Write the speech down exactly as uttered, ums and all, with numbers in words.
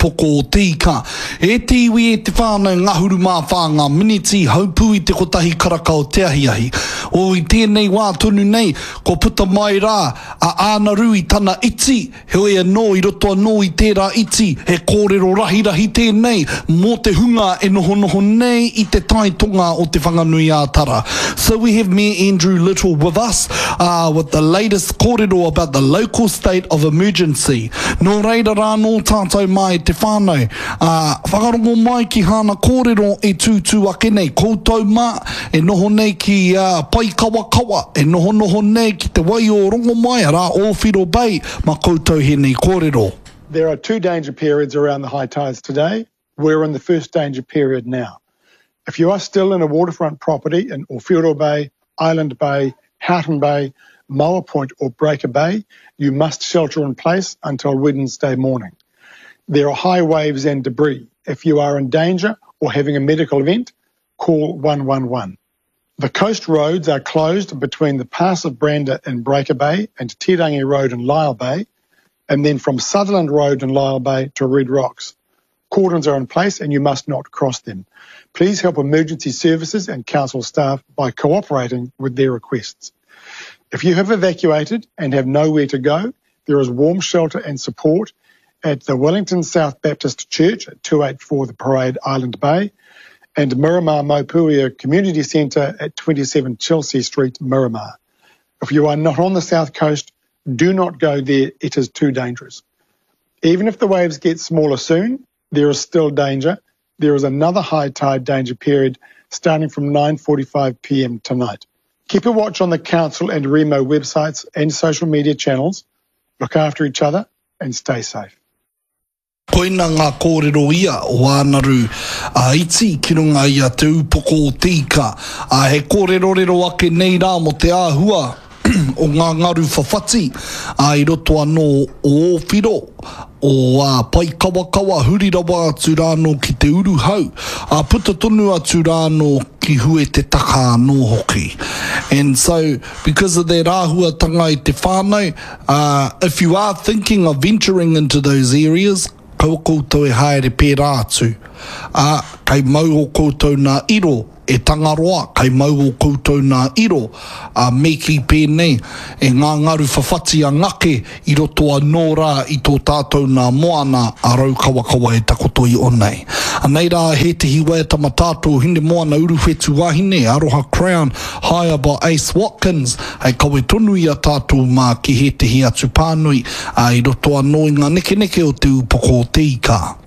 Poko o te Ika. E te iwi, e te whānau, ngahuru mā whā ngā miniti, haupū i te kotahi karaka o te ahiahi. O i tēnei wā tonu nei, kua puta mai rā a Ānaru i tana iti, heoi anō i roto anō i tērā iti, he kōrero rahirahi tēnei mō te hunga e nohonoho nei i te tai tonga o Te Whanganui-ā-Tara. So we have Mayor Andrew Little with us uh, with the latest kōrero about the local state of emergency. Nō reira rā nō tātou mā e te whānau, ā, whakarongo mai ki hāna kōrero e tūtū ake nei, koutou mā e noho nei ki ā, Paikawakawa, e nohonoho nei ki te wai o Rongomai, arā, Ōwhiro Bay, mā koutou hēnei kōrero. There are two danger periods around the high tides today. We're in the first danger period now. If you are still in a waterfront property in Owhiro Bay, Island Bay, Houghton Bay, Moa Point or Breaker Bay, you must shelter in place until Wednesday morning. There are high waves and debris. If you are in danger or having a medical event, call one one one. The coast roads are closed between the Pass of Brander in Breaker Bay and Te Rangi Road in Lyall Bay, and then from Sutherland Road in Lyall Bay to Red Rocks. Cordons are in place and you must not cross them. Please help emergency services and council staff by cooperating with their requests. If you have evacuated and have nowhere to go, there is warm shelter and support at the Wellington South Baptist Church at two eight four The Parade, Island Bay, and Miramar Maupuia Community Centre at twenty-seven Chelsea Street, Miramar. If you are not on the South Coast, do not go there. It is too dangerous. Even if the waves get smaller soon, there is still danger. There is another high tide danger period starting from nine forty-five p m tonight. Keep a watch on the council and Remo websites and social media channels. Look after each other and stay safe. Koina ngā kōrero ia o Ānaru a Iti ki runga i a Te Ūpoko o Te Ika. A he kōrerorero ake nei rā mō te āhua o ngā ngaru whawhati a i roto anō o Ōwhiro, o a Paikawakawa, huri rawa atu rānō ki te uruhau, a puta tonu atu rānō ki hue te taka anō hoki. And so, because of that āhuatanga i te whānau, uh, if you are thinking of venturing into those areas, kaua koutou e haere pērā atu. Ā, kei mau o koutou nā iro, e Tangaroa, kei mau o koutou nā iro, ā, me kī pēnei, e ngā ngaru whawhati a Ngake i roto anō rā i tō tātou nā moana a Raukawakawa e takoto i onei. Anei rā hētehi waiata matātou Hinemoana Uruwhetu Wahine, Aroha Crown, Higher by Ace Watkins, hei kawe tonu i a tātou mā ki hētehi atu pānui, ā, i roto anō i ngā nekeneke o te ūpoko o te ika.